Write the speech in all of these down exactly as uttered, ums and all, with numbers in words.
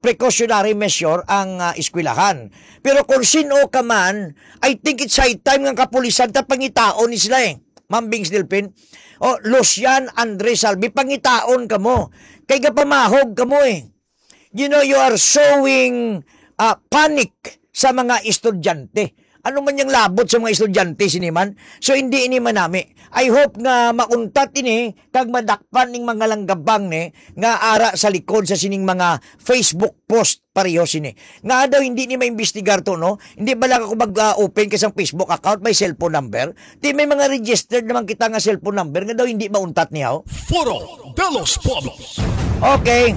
precautionary measure ang, ah, eskwelahan. Pero kung sin-o ka man, I think it's high time nga kapulisan ta pangitaon ni sila, eh. Ma'am Bings Delpin, o Lucian Andre Salvi, pangitaon kamo. Kay gapamahog kamo, eh. You know, you are sowing, ah, panic sa mga estudyante. Ano man yang labot sa mga estudyante sini man? So, hindi ini manami. I hope nga mauntat ini kag madakpan ning mga langgabang ni nga ara sa likod sa sining mga Facebook post pareho sini. Nga daw hindi ni maimbestigar to, no? Hindi ba lang ako mag-open ka sang Facebook account, may cellphone number? Di may mga registered naman kita nga cellphone number nga daw hindi mauntat niya, oh. Foro de los Pueblos. Okay.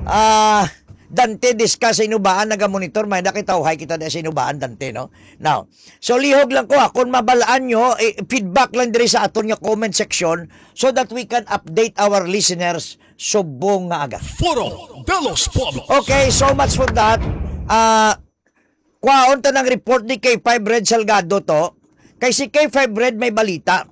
Ah, Dante, discuss sa Inubaan, naga-monitor, may nakita, uhay kita na sa Inubaan, Dante, no? Now, so lihog lang ko, ha, kung mabalaan nyo, eh, feedback lang diri sa aton nga comment section so that we can update our listeners subong nga aga. Foro de los Pueblos. Okay, so much for that. Ah, kwaon ta ng report ni K five Red Salgado to. Kay si K five Red may balita.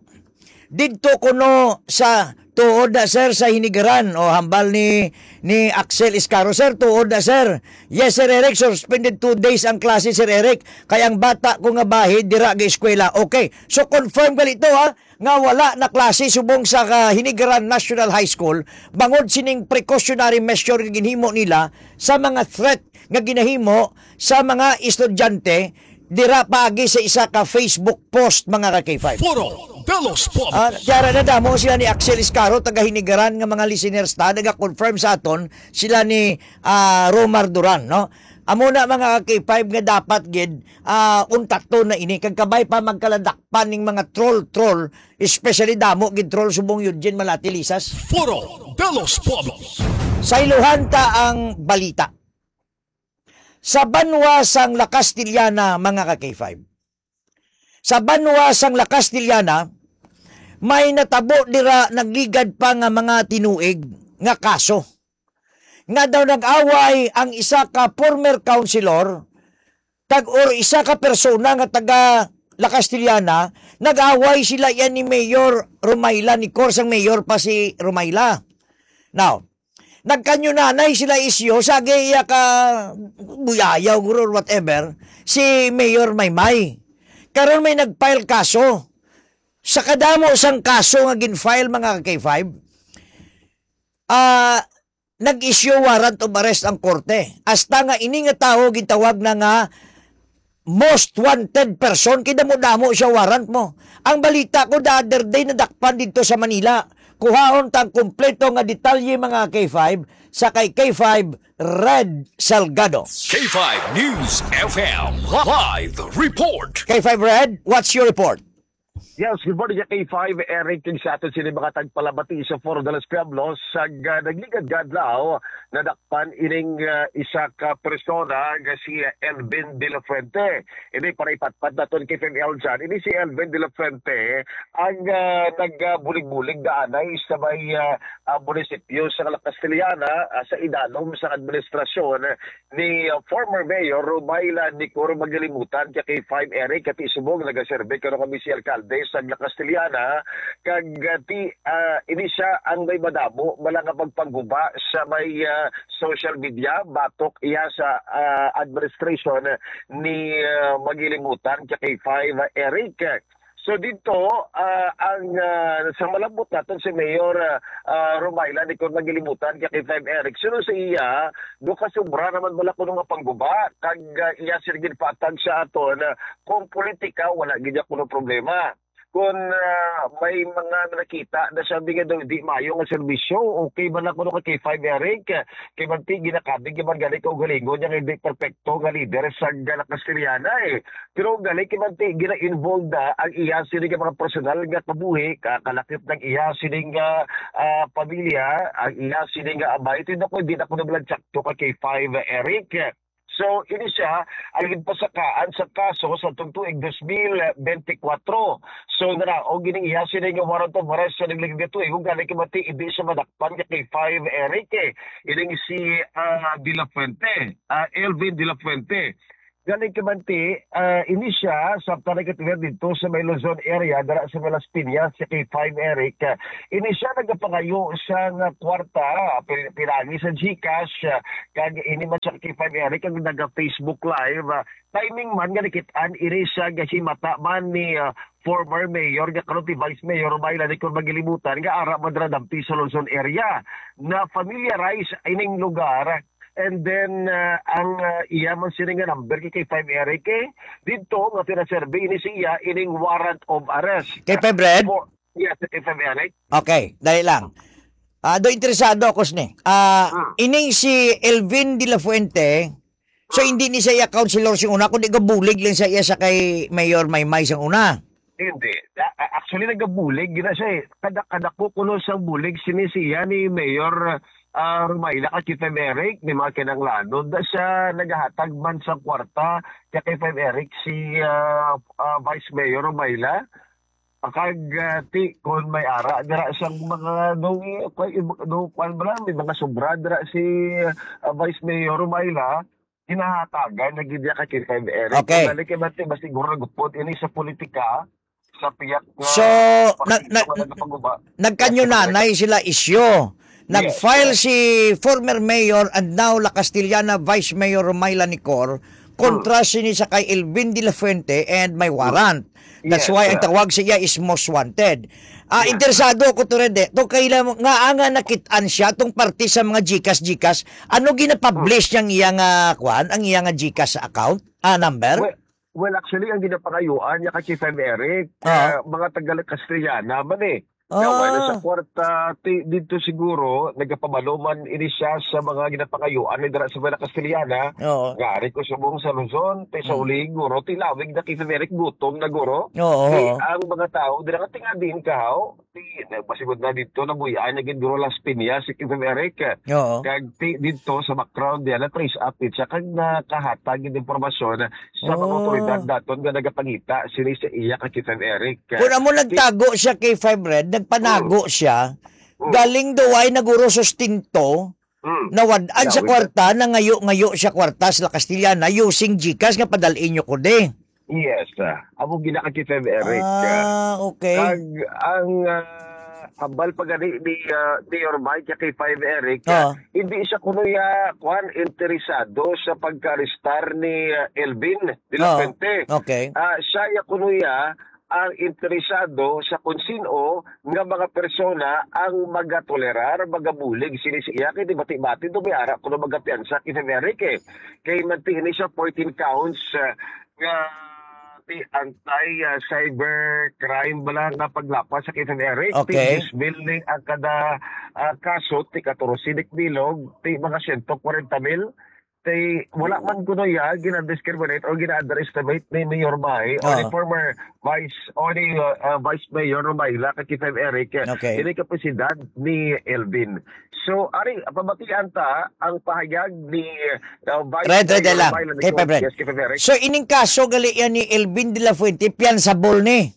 Didto kuno sa tuod na, sir, sa Hinigaran, o hambal ni, ni Axel Iscaro, "Sir, tuod na, sir." "Yes, Sir Eric, suspended two days ang klase, Sir Eric. Kay ang bata ko nga bahi, dira ga eskwela." Okay. So, confirm gali to, ha, nga wala na klase subong sa, ah, Hinigaran National High School, bangod sining precautionary measure nga ginhimo nila sa mga threat nga ginahimo sa mga estudyante dira paagi sa isa ka Facebook post, mga ka K five. Foro de los Pueblos. Ah, kaya ra nadamo sila ni Axel Iscaro, taga Hinigaran, nga mga listeners ta, naga-confirm sa aton, sila ni, ah, Romar Duran, no? Amo na, mga ka K five, nga dapat gid, ah, untaton na ini, kag kabay pa magkaladakpan ning mga troll-troll, especially damo gid troll subong Eugene Malati Lisas. Foro de los Pueblos. Sayluhan ta ang balita. Sa banwa sang La Castellana, mga ka K five. Sa banwa sang La Castellana, may natabo dira, nagligad pa nga mga tinuig nga kaso. Nga daw nag-away ang isa ka former councilor, tag, or isa ka persona nga taga La Castellana, nag-away sila yan ni Mayor Romayla, ni Cor sang mayor pa si Romayla. Now, nagkanyunanay sila isyu, sa iya ka buyayaw guro or whatever, si Mayor Maymay. Karon may nag-file kaso. Sa kadamo sang kaso nga gin-file, mga ka K five, ah, nag-issue warrant of arrest ang korte. Hasta nga ini nga tawo gintawag na nga most wanted person, kay damo-damo siya warrant mo. Ang balita ko the other day nadakpan didto sa Manila. Kuhaon ta ang kompleto nga detalye, mga K five, sa kay K five Red Salgado. K five News F M live report. K five Red, what's your report? Yes, good morning, K five, Eric, kag sa aton sini mga tagpalamati sa Foro de los Pueblos, sa, ah, nagligad nga adlaw, nadakpan ining, ah, isa ka persona nga si Elvin de la Fuente. Ini para ipatpat naton kay Fem Eljan. Ini si Elvin de la Fuente ang, ah, nagbulig-bulig daanay sa may, ah, ah, munisipyo sa La Castellana, ah, sa idalom sa administrasyon ni, ah, former Mayor Romayla Nicor Magalimutan, kay K five Eric, kati subong nagaserbi karon kami si alkalde sa La Castellana, kag, ah, ti, ah, ini siya ang may madamo bala nga pagpangguba sa may, ah, social media batok iya sa, ah, administration ni, ah, Magalimutan, kay K five Eric. So dito, ah, ang, ah, sa malambot naton si Mayor, ah, ah, Romayla Nicor Magalimutan, kay K five Eric. Suno sa iya, do ka sobra naman bala kuno nga pangguba, kag, ah, iya sila ginpatag sa aton, ah, kung politika, wala gid niya kuno problema. Kung, ah, may mga nakita na sabi nga daw hindi maayo nga serbisyo, okay man lang kuno kay K five Eric, kay manti ginakabig man gani kaugalingon niya nga hindi perpekto nga lider sa La Castellana, eh. Pero gali kay manti gina-involve na ang iya sini nga mga personal nga kabuhi, ka-, kalakip ng iya sini nga, ah, pamilya, ang iya sini nga amay. Ito na ko, hindi na ko naman sakto ka kay five, Eric. So, ini siya ang ginpasakaan sa kaso sa tuig dos mil benti kwatro. So, naraog ining iya sini nga warrant of arrest sa nagligad nga tuig, gali kay manti hindi siya madakpan ka kay five, Eric, eh. Ining si, ah, De La Fuente, ah, Elvin De La Fuente. Gani ka, Manti, ah, ini siya, samtang nagkatuyan dito sa may Luzon area, dara sa may Las Piñas, si K five Eric. Ah, ini siya nagapangayo sa nga kwarta, pil-, pinagi sa GCash, ah, kag ini man siya, K five Eric, ang naga-Facebook Live. Ah, timing man nga nakit-an, ini siya gahimata man ni, ah, former mayor nga karon ti Vice Mayor Romila Nicor Magilibutan nga ara man dira dampi sa Luzon area. Na-familiarize ining lugar. And then, ah, ang, ah, iya man sini nga number kay K five Eric, eh, didto nga pinaserbi ini siya ining warrant of arrest. K five Red? For, yes, K five Eric. Okay, dali lang. Ah, do interesado ako sini. Ah, Hmm. ining si Elvin de la Fuente, so Ah. hindi ni siya iya councilor sing una, kundi gabulig lang sa iya sa kay Mayor Maymay sang una. Hindi. A-, a-, actually, nagabulig gina siya, eh. Kada, kada ko kuno sang bulig sini siya ni Mayor, ah, Rumaila kag K five Eric, ni mga kinanglanon da siya nagahatag man sa kwarta kay K five Eric si, ah, ah, Vice Mayor Rumaila. Kag, ah, ti, kung may ara dira sang mga, no, kay, no, kwan ba lang, may mga sobra dira si, ah, Vice Mayor Rumaila, ginahatagan na gid niya kay K five Eric. Okay. Kung dali kay Mati, mas siguro nagupod ini sa politika, sa piyak nga So, partido na, na, nga nagapaguba. nagkanyunanay sila isyu. Yes, Nag-file yes. si former mayor and now La Castellana Vice Mayor Romaila Nicor kontra Hmm. sini sa kay Elvin de la Fuente and may warrant. That's Yes, why ang sir. tawag sa iya is most wanted. Ah, Yes, interesado ako to, Rede. To kaila mo, nga, nga nakit-an siya, tong parte sa mga GCash, GCash. Ano ginapublish Hmm. niyang iya nga, kwan, ang iya nga GCash account? Ah, number? Well, well, actually, ang ginapangayuan niya kay K five Eric, Ah. ah, mga taga Castellana man eh. Nga wala sa Ah. kwarta, ti-, dito siguro, nagapabalo man ini siya sa mga ginapangayuan ni dira sa mga Castellana. Oo. Nga ari ko subong sa Luzon, ti sa Mm. uli, guro, ti lawig na K five Eric, gutom na, guro. Oo, Ti oo. ang mga tao, dira nga tinga din ka, ho? Ti, nagpasigod na dito, nabuhian na gid, guro, Las Piñas, si K five Eric. Oo. Kag ti, dito sa background, diyan, na-trace up it siya, kag nakahatag yung impormasyon sa mga Oh. otoridad daton nga nagapangita sini sa iya kay K five Eric. Kung amo Ti nagtago siya kay Five Red, nagpanago Mm. siya, Mm. galing daw ay naguro sustento, Mm. nawad-an sa Nawid. kwarta, nangayo-ngayo siya kwarta sa La Castellana using GCash nga padal-in nyo ko di. Yes, ah, amo gina kay K five Eric. Ah, okay. Kag ang, ah, hambal pa gani ni, ah, Mayor Mike kay K five Eric, Oo. ah, hindi siya kuno ya, kwan, interesado sa pagka-arrestar ni, ah, Elvin de la Oo. Fuente. Okay. Ah, siya ya kuno ya ang interesado sa kung sino nga mga persona ang magatolerar, magabulig sini sa iya. Kay di bati-bati do may ara kuno magapiyansa kay K five Eric, eh. Kay manti ini siya fourteen counts, ah, nga ti anti, ah, cyber crime bala nga paglapas sa K five Eric. Okay. Ti diyes mil ni ang kada, ah, kaso, ti katorse ni bilog, ti mga siyento kwarenta mil. Ti wala man kuno ya gina-discriminate o gina-underestimate ni Mayor Mike o ni Ah. former vice, o ni, ah, ah, Vice Mayor Romaila kay K five Eric. Okay. Ini kapasidad ni Elvin. So, ari, pabatian ta ang pahayag ni, uh, Vice Red, Red Mayor lang. Romaila Kay Nicole. Pebren. Yes, kay Pebren. So, ining kaso gali yan ni Elvin de la Fuente, piansable ni.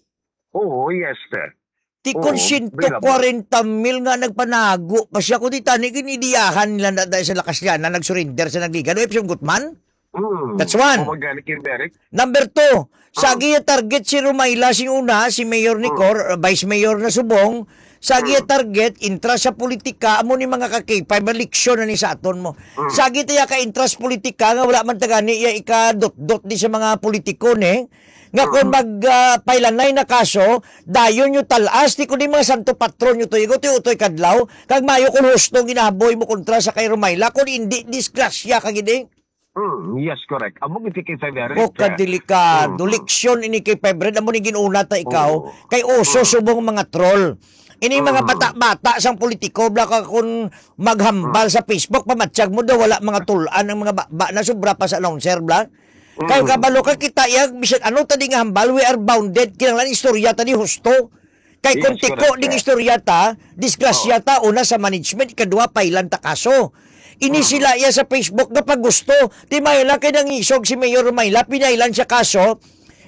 Oo, yes, sir. Ti Oo, kon bailable. siyento kwarenta mil nga nagpanago pa siya, kundi tani ginidiyahan nila na dahil sa lakas niya na nag-surrender sa Nagligan. O, Epson Gutman? Mm. That's one. O, magani kay Eric? Number two, sa Mm. giya target si Romaila sing una, si Mayor Mm. Nicor, uh, Vice Mayor na subong, sa giya Mm. target, intra sa politika, amo ni mga ka-K five, leksyon na ni sa aton mo. Mm. Sa giya ka intra sa politika, nga wala man tagani iya ikadot-dot di sa mga politiko, ne? Nga kung Mm. mag, ah, pailanay na kaso, dayon nyo talas, di ko di mga santo patron nyo to, igo, ti utoy kadlaw, kag mayo kung husto ginahaboy mo kontra sa kay Romaila, kung hindi, disgrasya ka gid eh. Mm, yes, correct. Amo gid si K five Eric, O, eh. kadelikado. Mm, mm. Leksyon ini kay Febred. Amo ni ginuna ta ikaw. Oo. Kay uso Mm. subong mga troll. Ini mga Mm. bata-bata sang politiko, bla ka kun maghambal Mm. sa Facebook, pamatsyag mo daw, wala mga tulan ang mga ba, ba na sobra pa sa announcer, bla. Kay Mm. kabalo ka kita, iya, bisan ano ta di nga hambal, we are bounded. Kinahanglan istorya ta di husto. Kay kung Yes, tiko correct, ding sir. istorya ta, disgrasya Oo. ta, una sa management, ikadua, pailan ta kaso. Ini Mm. sila iya sa Facebook nga pag gusto. Ti Mayla kay nangisog si Mayor Mayla, pinailan siya kaso.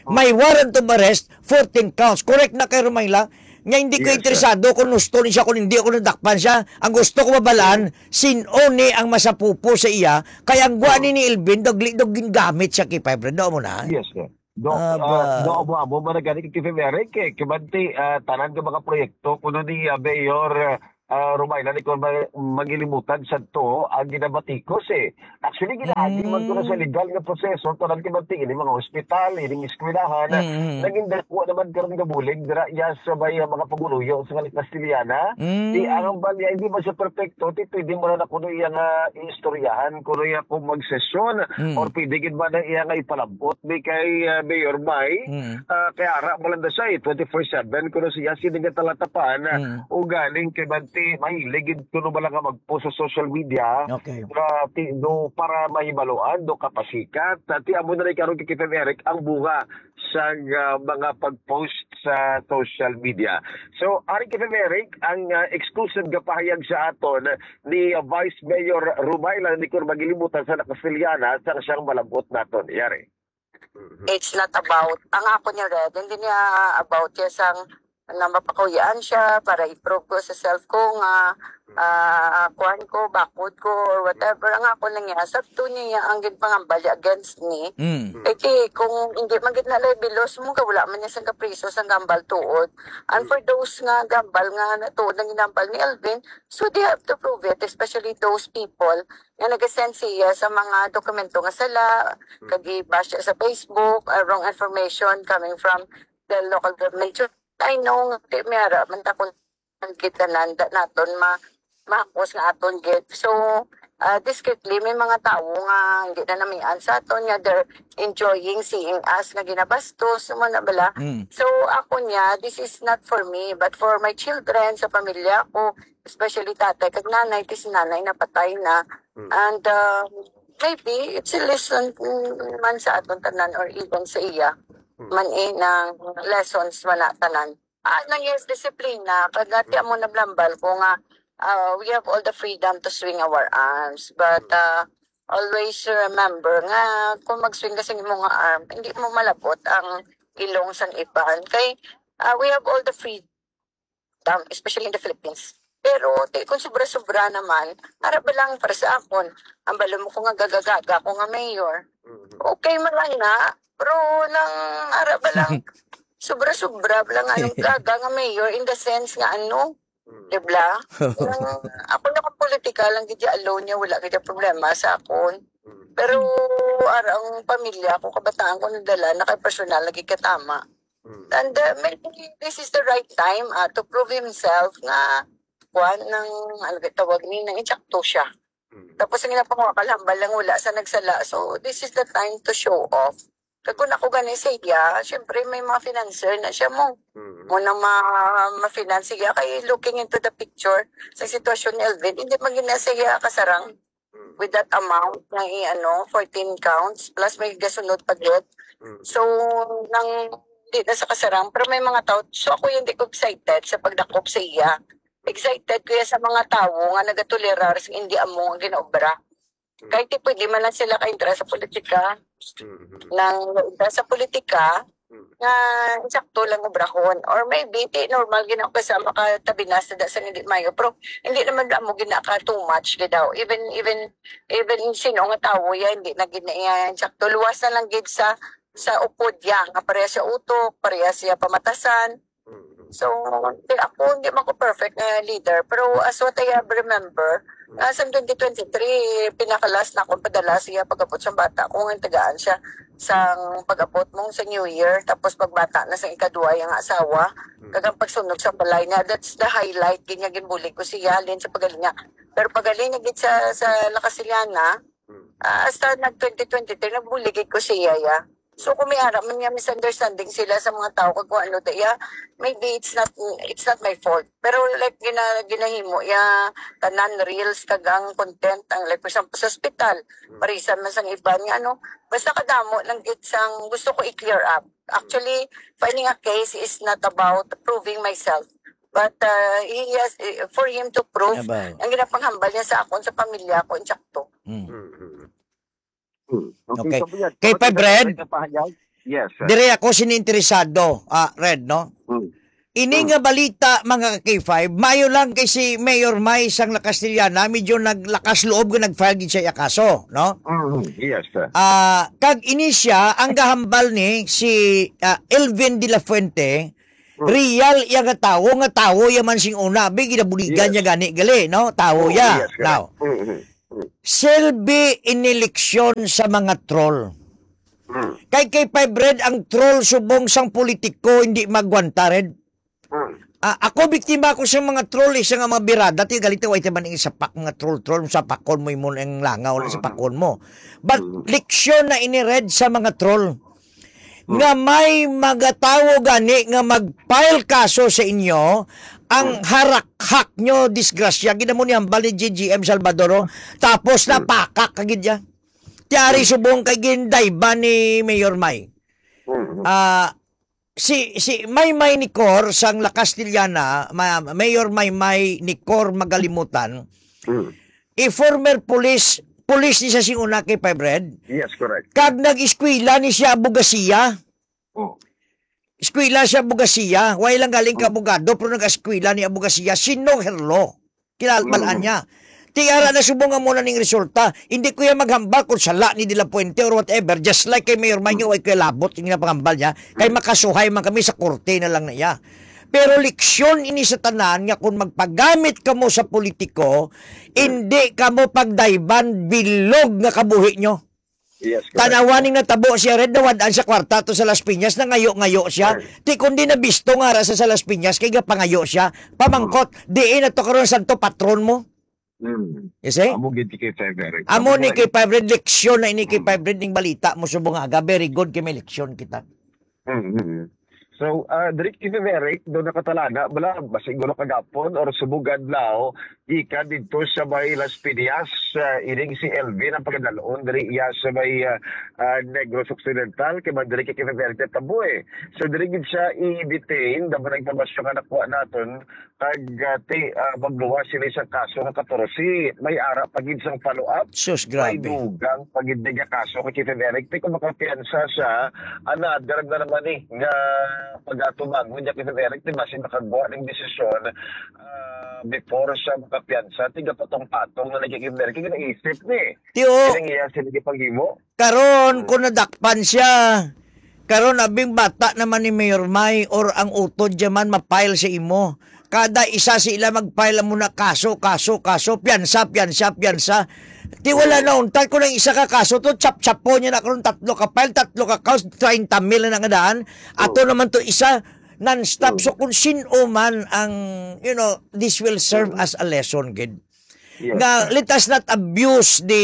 Mm. May warrant of arrest, fourteen counts. Correct na kay Romayla. Nya hindi ko Yes, sir. interesado kung husto ni siya, kung hindi ako nadakpan siya. Ang gusto ko mabalaan, sin-o ni ang masapupo sa iya, kay ang gwa Oh. ni ni Elvin, dagli daw gingamit siya kay Five Red. Daw mo na? Yes, sir. Do, Aba. ah, do, amo, amo, man gani kay K F M Eric, eh, kimanti, ah, tanan nga mga proyekto, kuno ni, ah, Mayor, ah, Romayla ni Cor Ma-, Magilimutan sadto ang ginabatikos, eh. Actually, ginaagi man ko na sa Mm. legal nga proseso, tanan kimanti, ini mga hospital, ining eskwelahan, Mm. naging dako naman karon nga bulig dira, ya sa may, ah, mga paguluyo sa mga Kastiliana. Di Mm. ang balya, hindi man siya perfecto, di pwede mo na kuno iya nga istoryahan, kuno iya kung magsesyon, Mm. or pwede gid ba na iya nga ipalabot ni kay, ah, Mayor May? Mm. Ah, kay ara mo lang na siya, eh, twenty-four seven, kuno siya, sini nga talatapan, ah, Mm. o galing kay Bante, mahilig gid kuno ba lang nga mag-post sa social media, Okay. nga ti-, do, para mahibaluan, do kapasikat. Ti amo na rin karon kay K F M Eric, ang bunga sa, ah, mga pag-post sa social media. So, ari kay K F M Eric, ang, ah, exclusive nga pahayag sa aton ni, ah, Vice Mayor Rumayla ni Cor Magilimutan sa Nakasiliana sa siyang malabot naton. Yari. Mhm. It's not about, ang ako niya, Red, hindi niya about siya sang na mapakuyaan siya para i-prove ko sa self ko nga, ah, kuwan ko, bakod ko, or whatever. Ang ako lang niya, sa to niya ang ginpangambal niya against me. Mm. Eh, kay kung hindi man gid na libelos mo, ka wala man niya sang kapriso, sang gambal tuod. And for those nga gambal nga natuod ang ginambal ni Elvin, so they have to prove it, especially those people nga nag-send siya sa mga dokumento nga sala, Mm. kag i-bash siya sa Facebook, uh, wrong information coming from the local government. So, I know nga di may ara man ta kung ang kita nanda naton ma-, mahapos nga aton gid. So, uh, discreetly, may mga tawo nga hindi na namian sa aton nga they're enjoying seeing us nga ginabastos, mo na bala. Mm. So, ako niya, this is not for me, but for my children, sa pamilya ko, especially tatay kag nanay, kay si nanay napatay na. Mm. And, uh, maybe, it's a lesson, mm, man sa aton tanan or even sa iya. Mm. Man eh, ng lessons man na tanan. Ah, nang yes, disiplina, kag ati amo nablambal ko nga, uh, we have all the freedom to swing our arms, but, Mm. uh, always remember nga kung mag-swing ka sa imong arm, hindi mo malabot ang ilong sang iban. Kay, uh, we have all the freedom, especially in the Philippines. Pero, ti, kung sobra-sobra naman, ara ba lang para sa akon, ang balo mo ko nga gagagaga ko nga mayor. Mhm. Okay man lang na, pero nang ara ba lang, sobra-sobra ba lang ang gaga nga mayor in the sense nga ano, Mm. di ba? Nang, ako na kung politika lang gid alone niya, wala gid problema sa akon. Mm. Pero ara ang pamilya ko, kabataan ko nadala na kay personal lagi katama. Mm. And, uh, maybe this is the right time, ah, to prove himself nga kuan ng, ano ba tawag ni, nang insakto siya. Mm. Tapos ang ginapangwa kalambal lang wala sa nagsala. So, this is the time to show off. Kag kung ako gani sa iya, syempre may mga financer na siya mo. Mm. Mo na ma-, ma-finance siya. Kay looking into the picture, sa sitwasyon ni Elvin, hindi man gina siya kasarang Mm. with that amount na i-, ano, fourteen counts, plus may gasunod pa gid. Mm. So, nang di na sa kasarang, pero may mga tao, so ako yung di ko excited sa pagdakop sa iya. Excited ko ya sa mga tawo nga nagatolerar sa hindi amo nga ginaobra. Mm. Kahit di pwede man lang sila ka-entra sa politika, Mm, mm, mm. nang entra sa politika, Mm. nga sakto lang obrahon. Or maybe, di normal gina-, kay sa makatabi na sa da-, sa hindi mayo. Pero hindi naman amo gina ka too much gid daw. Even, even, even sino nga tawo ya, hindi na gid na iya sakto. Luwas na lang gid sa, sa upod ya, nga pareha siya utok, pareha siya pamatasan. Mm. So, di ako, hindi man ko perfect nga leader. Pero as what I have remember, Mm. ah, sa twenty twenty-three, pinakalas na akong padala siya pagkapot siyang bata ko, nga tagaan siya sang pag-abot mong sa New Year, tapos pagbata na sa ikaduha yung asawa, Mm. kag ang pagsunog sa balay niya, that's the highlight, gid niya ginbulig ko siya, halin sa pagaling niya. Pero pagaling niya gid sa, sa Lakasiliana, Mm. ah, hasta nag twenty twenty-three, nagbulig gid ko siya, ya. So, kung may ara man nga misunderstanding sila sa mga tao, kag kung ano, da, ya, maybe it's not, it's not my fault. Pero, like, gina-, ginahimo, ya, tanan reels, kag ang content, ang, like, for example, sa ospital, Mm. parisan man sang iban nga, ano, basta kadamo lang gid sang gusto ko i-clear up. Actually, finding a case is not about proving myself. But, uh, he has, eh, for him to prove About. ang ginapanghambal niya sa akon, sa pamilya ko, insakto. Mm. Mm, mm, mm. Hmm. Okay, Okay. so, yan. Kay Kapatid, Pay Brad, may kapahayag? Yes, sir. Dire ako sini interesado, ah, Red, no? Hmm. Ini Hmm. nga balita, mga ka-K five, maayo lang kay si Mayor May sang La Castellana, medyo naglakas loob nga nag-file gid siya iya kaso, no? Mm, yes, sir. Ah, kag ini siya, ang gahambal ni si, ah, Elvin de la Fuente, Hmm. real iya nga tawo, nga tawo iya man sing una, abi, ginabuligan Yes. niya gani gali, no? Tawo Oo, iya. Yes, correct. Now, Mm, mm, mm. Silbi ini leksyon sa mga troll. Mm. Kay, kay five Red, ang troll subong sang politiko hindi magwanta, Red. Mm. Ah, ako biktima ko sa mga troll, isa nga mga birada, ti galit, "Wa ito man ang sapak, mga troll-troll, sapakon mo imo ang langaw, Mm. sapakon mo." But Mm. leksyon na ini, Red, sa mga troll. Mm. Nga may mga tawo gani nga mag-file kaso sa inyo, ang Mm. harakhak nyo, disgrasya, gid amo ni hambal ni G G M Salvador, oh. Tapos Mm. napakak ka gid ya. Tiyari Mm. subong kay gindayban ni Mayor May. Mm. Ah, si, si Maymay Nicor sang La Castellana, ma-, Mayor Maymay Nicor Magalimutan, Mm. a former police, police ni sa sing una kay five Red. Yes, correct. Kag nag-eskwela ni siya abogasiya. Oh. Eskwela siya abogasiya. Way lang galing ka Mm. abogado, pero nag-eskwela ni abogasiya. Sino Herlo? Kilala Mm. niya. Ti ara na subong nga mo na ning resulta. Hindi ko yan maghambal kung sala ni De La Fuente or whatever. Just like kay Mayor May, Mm. way ko labot yung napangambal niya. Kay Mm. makasuhay man kami sa korte na lang na iya. Pero leksyon ini sa tanan nga kung magpagamit kamo sa politiko, Mm. hindi kamo pagdayban bilog nga kabuhi nyo. Yes, correct. Tanawa ning natabo siya, Red, nawad-an sa kwarta to sa Las Piñas, nangayo-ngayo siya. Sir. Ti kundi nabisto nga ara sa, sa Las Piñas, kay gapangayo siya. Pamangkot, Mm. diin na to karon santo patron mo? Mm. You see? Amo gid kay five Red. Amo Amo ni nga kay five Red, leksyon na ini kay Mm. five Red ning balita mo subong aga. Very good kay may leksyon kita. Mm, mm. So, ah, diri kay Eric, do nakatalana, bala, basig gulo kagapon or subong adlaw, gikan didto sa may Las Piñas, ah, ining si Elvin ang pagadalon diri iya sa may, ah, ah, Negros Occidental, kay man diri kay Eric tabo, eh. So, diri gid siya i-detain, dapat ang impormasyon nga nakuha naton, kag, ah, ti-, ah, magluwas sila sa kaso nga katorse. May ara pa gid sang follow-up. Sus, May grabe. dugang pa gid nga kaso kay Kevin Eric. Ti kung makapiyansa siya, another na naman ni nga pag-atubangon niya, Kevin Eric, ti basi makagwa ning desisyon, ah, before siya makapiyansa. Ti gapatong-patong na lagi, Kevin Eric, kay naisip ni. Ti, o. Kini iya sila gipanghimo. Karon, Mm. kung nadakpan siya, karon, abing bata naman ni Mayor May or ang utod dyan man ma-file sa imo. Kada isa sa ila mag-file amo na kaso, kaso, kaso, piyansa, piyansa, piyansa. Ti wala Mm. na untat kung ang isa ka kaso to, chap-chapo niya na karon tatlo ka file, tatlo ka kaso, treinta mil na nga daan. Ato Mm. naman to isa, non-stop. Mm. So kung sino man ang, you know, this will serve Mm. as a lesson, gid. Yes. Nga, let us not abuse the,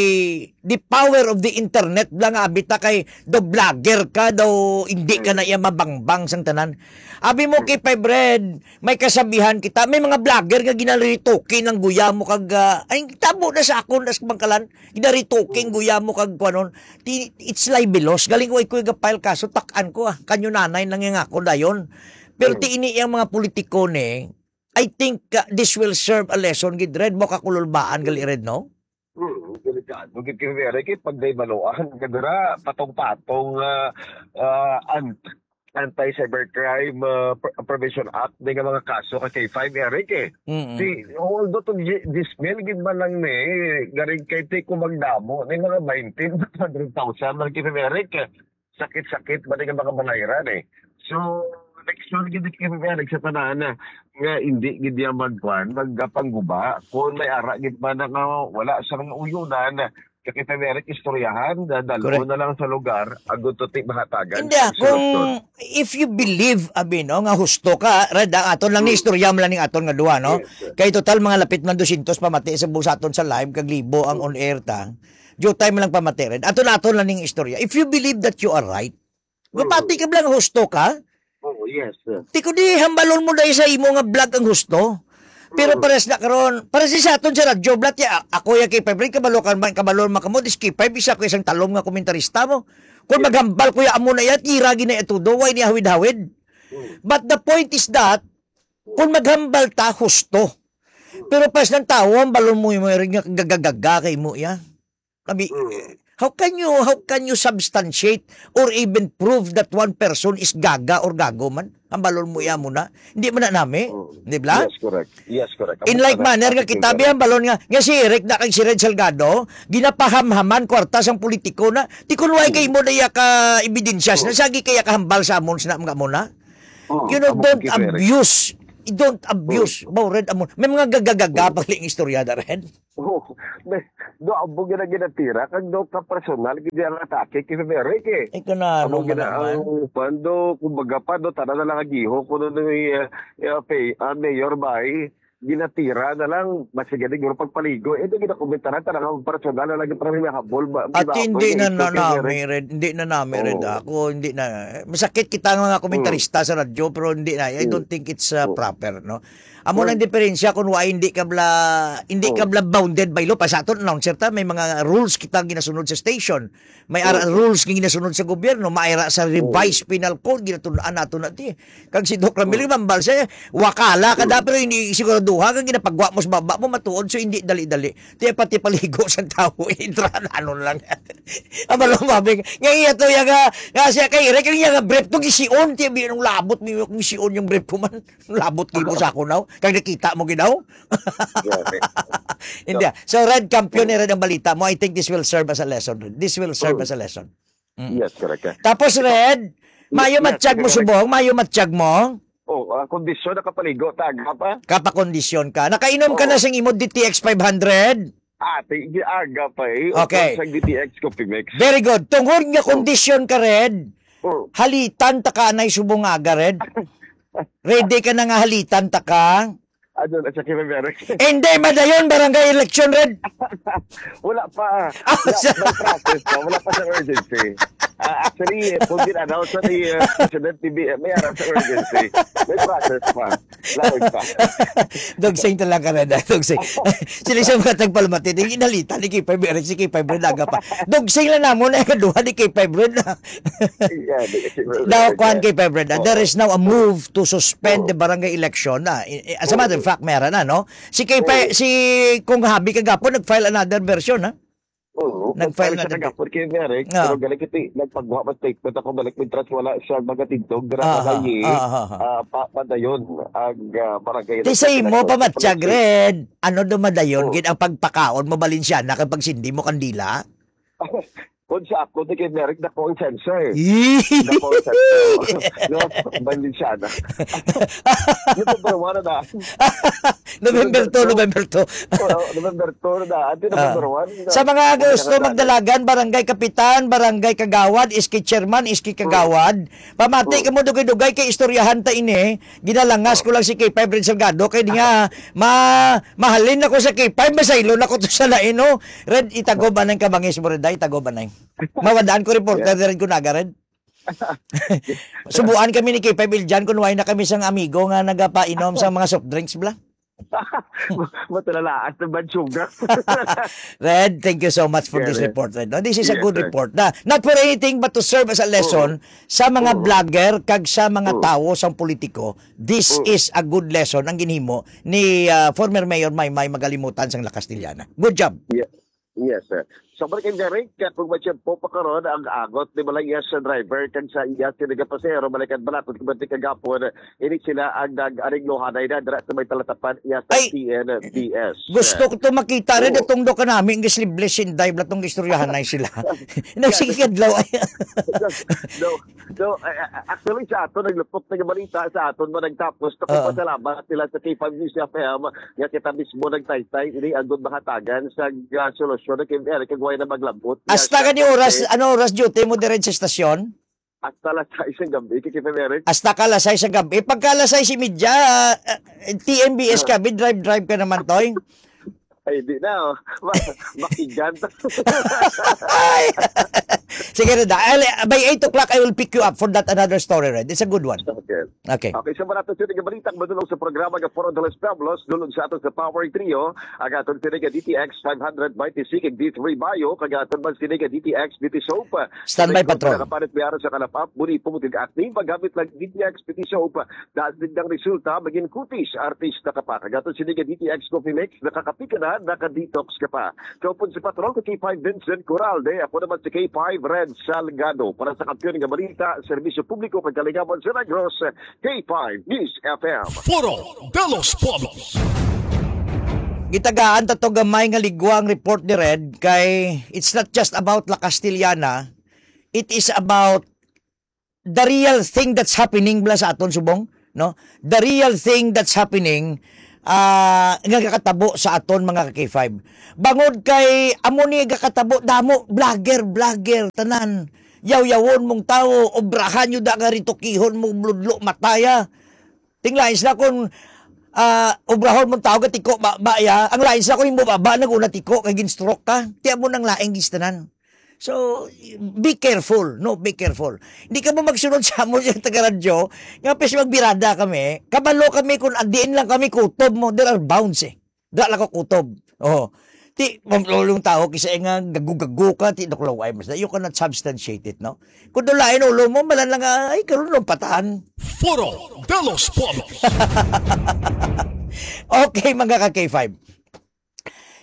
the power of the internet bala nga abi ta kay daw vlogger ka, daw hindi ka Mm. na iya mabangbang sang tanan. Abi mo Mm. kay Five Red, may kasabihan kita, may mga vlogger nga ginaretoke ang guya mo kag, ah, ay, tabo na sa akon, das bangkalan, ginaretoke ang Mm. guya mo kag kuanon. Ti-, it's libelous. Galing way ko ga-file kaso, tak-an ko, ah. Kanyo nanay nang nga ako dayon. Pero Mm. ti ini ang mga politiko ni, I think, uh, this will serve a lesson gid, Red, mo kakululbaan gali, Red, no? Hmm, delikado gid kay Eric, eh, pag day maluan, kadura, patong-patong, ah, ah, an-, Anti-Cybercrime, ah, Pre-, Prevention Act, di nga mga kaso ka K five, Eric, eh. Mm-mm. Si, although to gi-, dismil gid man lang ni, garing kay ti kung magdamo, ni mga twenty, hundred thousand man kay Eric, eh. Sakit-sakit ba nga mga balayran, eh. So, next one gid kay Eric sa tanan, nga hindi gid niya magkuan, magpangguba, kung may ara gid man nga wala sa mga uyunan, kakita ni Eric, istoryahan, dadalon Correct. na lang sa lugar, agud to ti mahatagan Hindi, sa ah, kung solusyon. if you believe, abi, no, nga husto ka, Red, ah, aton lang ni Mm. istorya mo lang ning aton nga duha, no? Yes, sir. Kay total, mga lapit man dosyentos pamati sa bu-, sa aton sa live, kag libo ang Mm. on air ta. Diyo time lang pamati, Red. Aton, aton lang ning istorya. If you believe that you are right, Mm. gapati ka lang husto ka, Oo, yes, sir. Ti ko di hambalon mo dahil sa imo nga vlog ang husto. Pero Mm. pares na karon, pares sa aton sa radyo, blat ya, ako ya kay Febri, kabalo ka man, kabalo man kamo, dis kay Feb, isa ko isang talom nga komentarista mo. Kung Yes. maghambal ko ya amo na ya, tira gid na ya todo, way ni hawid-hawid. Mm. But the point is that, kung maghambal ta, husto. Mm. Pero pares ng tao, hambalon mo, mo rin nga gagagaga kay mo ya. Abi, Mm. eh, How can you, how can you substantiate or even prove that one person is gaga or gago man? Ang balon mo iya mo na. Hindi man na nami. Mm. Di ba? Yes, correct. Yes, correct. In like manner nga kita, biya ang balon nga, nga si Eric na kag si Red Salgado, ginapahamhaman kwarta sang politiko na. Di kun way kay mo na iya ka ebidensyas na, sagi kaya kahambal sa amon sa mga mo na. Oh, You know, amo don't kay Eric. abuse. Don't abuse. Oh. Ba, Red, amo. May mga gagagaga Oh. pag istorya na, Red. Oh, may, do amo gina ginatira, kag do ka personal, gid ang atake kay Eric eh. Ay, kanano Amo man gina naman? ang pan, do, kumbaga pa, do, tana na lang agiho, kuno do, eh, eh, pay, ah, mayor ba, eh, ginatira na lang, mas gani guro pagpaligo. Eh, di ginakomentaran, tana nga personal na lang, para may habol, ba, At di ba, hindi eh, na, na ito kay namin, Eric. Red, hindi na namin, Red, Oo. ako, hindi na, masakit kita nga mga komentarista sa radyo, pero hindi na, I Mm. don't think it's, uh, Mm. proper, no? Amo Well, nang diferensya kung why hindi ka bla, hindi ka oh. bla bounded by law. Pa sa aton announcer ta, may mga rules kita ginasunod sa station. May ara Oh. rules nga ginasunod sa gobyerno, may ara sa Oh. revised penal code, ginatun-an nato na ti. Kag si Doc Ramil, Oh. mambal siya, wakala ka Oh. da, pero hindi siguraduha, kag ginapagwa mo sa baba mo, matuod, so hindi dali-dali. Ti pati paligo sa tao, intra na ano lang. Ang malumabing, nga iya to, iya nga, nga siya kay Eric, ang iya nga brief to, gisiun, ti, binong labot, mi, gisiun yung brief ko man. Labot kay mo sa ako now. Kag nakita mo ginaw? Grabe. Hindi. So, Red, kampiyon ni Red ang balita mo. I think this will serve as a lesson, Red. This will serve Mm. as a lesson. Mm. Yes, correct, eh. Tapos, Red, Yes, mayo yes, matyag mo correct. subong, mayo matyag mo. Oh, ah, kondisyon, nakapaligo, taga pa? Kapakondisyon ka. Nakainom ka Oo. na sing imo D T X five hundred? Ah, ti-, di aga pa eh. Okay. Sa D T X Coffee Mix. Very good. Tungod nga Oh. kondisyon ka, Red, Oh. halitan ta ka anay subong nga aga, Red. Ready ka na nga halitan ta ka? Ano na siya, Kevin Merrick? Hindi, madayon, barangay election, Red. Wala pa. Ah, Wala, sa- may process pa. Wala pa sa urgency. Ah, actually, kung gin-announce sa ni, uh, President P B M, may harap sa urgency. May process pa. Laog pa. Dogsing na lang ka, Red, ah, dogsing. Sila sa mga tagpalmati, di inalitan ni K five Red, si K five Red, aga pa. Dogsing lang namon, eh, kaduha ni K five Red na. Yeah, di, siguro, Daw, kuwan, yeah. K five Red, ah, Oh. there is now a move to suspend Oh. the barangay election. Ah, i-, i-, as a matter of Oh. fact, meron na, no? Si K five, Oh. si Kong Habi kagapon, nag-file another version, ha? Oo, Nag-file nagpalsa another na gapon kay Merrick, Ah. pero galing kiti, nagpagwa man statement ako, balik, mintras wala siya magatindog, dira Ah, sa ah, Valle, ah, ah, ah. ah, pa-, padayon ang, ah, barangay Ti sa election imo election. pa, Matyag, Red. Ano do madayon, Oh. gid ang pagpakaon mo, Balenciana, kag pagsindi mo kandila? Kung sa ako, di kay Merrick, dako ang sensor. Yee! Dako ang sensor. No? Balenciana. Yung number one na. November two, November two. Oo, November two na. Ante Ah. November one na. Sa mga Wala gusto na magdalagan, barangay kapitan, barangay kagawad, iski chairman, iski kagawad, pamati Mm. ka mo dugay-dugay kay istoryahan ta ini. Ginalangas ko lang si K five Red Salgado kay di nga ma-, mahalin ako sa K five, masaylon ako to sa lain, no? Red, itago ba nang kabangis mo, Red? Ay, itago ba nang? Mawadaan ko reporter, Yeah. Red, ko naga, Red. Subuan kami ni K five Iljan kung why na kami sang amigo nga nagapainom sa mga soft drinks, bla. Matalalaan sa bad sugar. Red, thank you so much for Yeah, this yeah. report, Red. No, this is a Yes, good sir. report na. Not for anything but to serve as a lesson Oo. sa mga Oo. vlogger kag sa mga Oo. tawo sang politiko. This Oo. is a good lesson ang ginhimo ni, ah, former Mayor Maymay Magalimutan sang La Castellana. Good job. Yeah. Yes, sir. Sa balik kay Derek, kung may tiyempo pa karon ang agot ni Malayas sa driver kag sa iya sinigang pasahero, balikan bala kung kumanti kagapon, ini sila ang nag-ariglohanay na dira sa may talatapan iya sa Ay, T N B S. gusto ko to makita rin Oo. itong do kanami ang gislibless in dive latong istoryahan na sila. Nagsigig adlaw ay. No, no, eh, eh, actually, sa aton, naglupok na yung balita sa aton, mo nagtapos, Oo. nagpasalamat sila sa K five News F M, nga kita mismo nagtaytay, ini ang mahatagan sa, ah, solusyon na kay Eric, kag way na maglabot. Hasta Nga gani siya, oras, okay. ano oras duty mo dire sa estasyon? Hasta alas sais ng gabi, kay K five Eric. Hasta ka alas sais sa gabi. Pagka alas sais y media, ah, T M B S Ah. ka, bi-drive-drive ka naman, Toy. Ay, di na, oh. Ma-, makigan. Ay! Sige, Red, ah, I'll- by eight o'clock, I will pick you up for that another story, Red. It's a good one. Okay. Okay. Okay, sa mga ato sini nga balita, madulong sa programa nga Foro de los Pueblos, dulong sa ato sa Power Trio, ang aton sini nga D T X five hundred Mighty Seeking D three Bio, kag aton man sini nga D T X Beauty Soap. Standby, Kung patron. Nakapalit may araw sa kalapap, muni po mo tig-acne, magamit lang D T X Beauty Soap. Dahil tigdang resulta, maging kutis, artista ka pa. Kag aton sini nga D T X Coffee Mix, nakakapi ka na, naka-detox ka pa. Kaupod si Patrol, si K five Vincent Coralde. Ako naman si K five Red Salgado. Para sa kampiyon nga balita, serbisyo publiko kag kalingawan sa Negros, K five News F M. Foro de los Pueblos. Gitagaan ta to gamay nga ligwa ang report ni Red kay it's not just about La Castellana, it is about the real thing that's happening bala sa aton subong, no? The real thing that's happening, ah, nga gakatabo sa aton mga ka-K five. Bangod kay amo ni gakatabo, damo, vlogger, vlogger, tanan. Yaw-yawon mong tawo, obrahan nyo da nga ritukihon mo, bludlo, mataya. Ting lain sila kung, ah, obrahon mong tawo, gatiko, ba, ba, ya. Ang lain sila kung imo baba, nag-una tiko, kay gin-stroke ka. Tiya mo nang laing gistanan. So, be careful, no? Be careful. Hindi ka mo magsunod sa amo sa taga-radyo, nga pes magbirada kami, kabalo kami kung adiin lang kami kutob mo, there are bounds eh. Da lang ko kutob. Oh. Ti, mamlolong tao, kisa nga gago-gago ka, ti, nakulaway, mas, you cannot substantiate it, no? Kung dulain ulo mo, malan lang, ay, karon lang patahan. Foro de los Pueblos. Okay, mga ka-K five.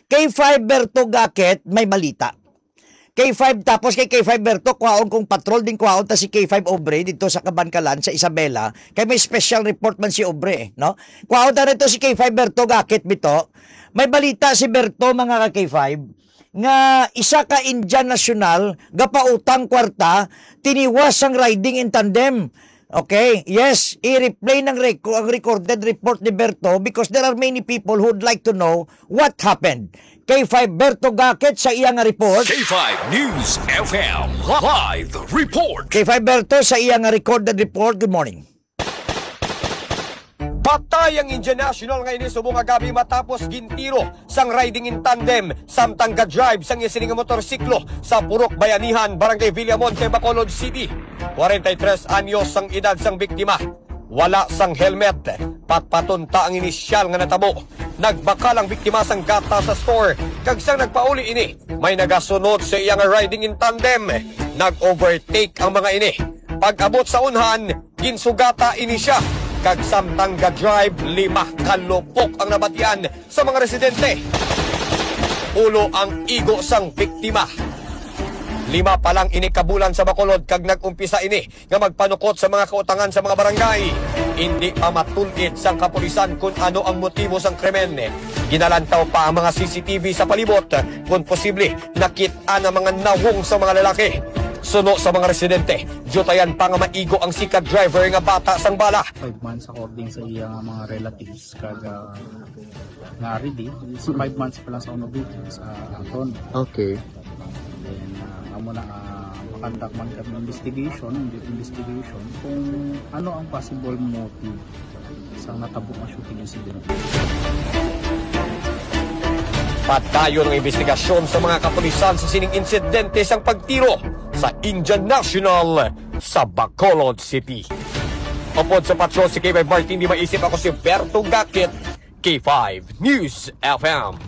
K five Berto Gakit, may balita. K five, tapos kay K five Berto, kuhaon kong patrol din, kuhaon ta si K five Obre dito sa Kabankalan, sa Isabela. Kay may special report man si Obre, eh, no? Kuhaon ta nito si K five Berto Gakit, bito. May balita si Berto, mga ka-K five, nga isa ka Indian national, gapautang kwarta, tiniwas sang riding in tandem. Okay, yes, i-replay ng reco-, ang recorded report ni Berto because there are many people who'd like to know what happened. K five Berto Gakit sa iya nga report. K five News F M live report. K five Berto sa iya nga recorded report. Good morning. Patay ang Indian national nga ini subong nga gabi matapos gintiro sang riding in tandem samtang ga-drive sang iya sini nga motorsiklo sa Purok Bayanihan, Barangay Villamonte, Bacolod City. Kwarenta y tres anyos ang edad sang biktima. Wala sang helmet. Patpaton ta ang inisyal nga natabo. Nagbakal ang biktima sang gata sa store, kag sang nagpauli ini, may nagasunod sa iya nga riding in tandem. Nag-overtake ang mga ini. Pag-abot sa unhan, ginsugata ini siya, kag samtang ga-drive, lima ka lupok ang nabatian sa mga residente. Ulo ang igo sang biktima. Lima pa lang ini ka bulan sa Bacolod kag nag-umpisa ini nga magpanukot sa mga kautangan sa mga barangay. Indi pa matul-id sang kapulisan kun ano ang motibo sang krimen. Ginalantaw pa ang mga C C T V sa palibot kun posible nakit-an ang mga nawong sa mga lalaki. Suno sa mga residente, diutayan pa nga maigo ang sikat driver nga bata sang bala. Five months according sa iya nga mga relatives kag, ah, nga ready. Sa five months pa lang sa uno, sa aton. Okay. Then, ah, amo na, ah, makandak man kami investigation, investigation kung ano ang possible motive sa natabo nga shooting incident. Padayon ang investigasyon sa mga kapulisan sa sining insidente sang pagtiro sa Indian National sa Bacolod City. Upod sa patrol si K five Martin, di maisip ako si Berto Gakit, K five News F M.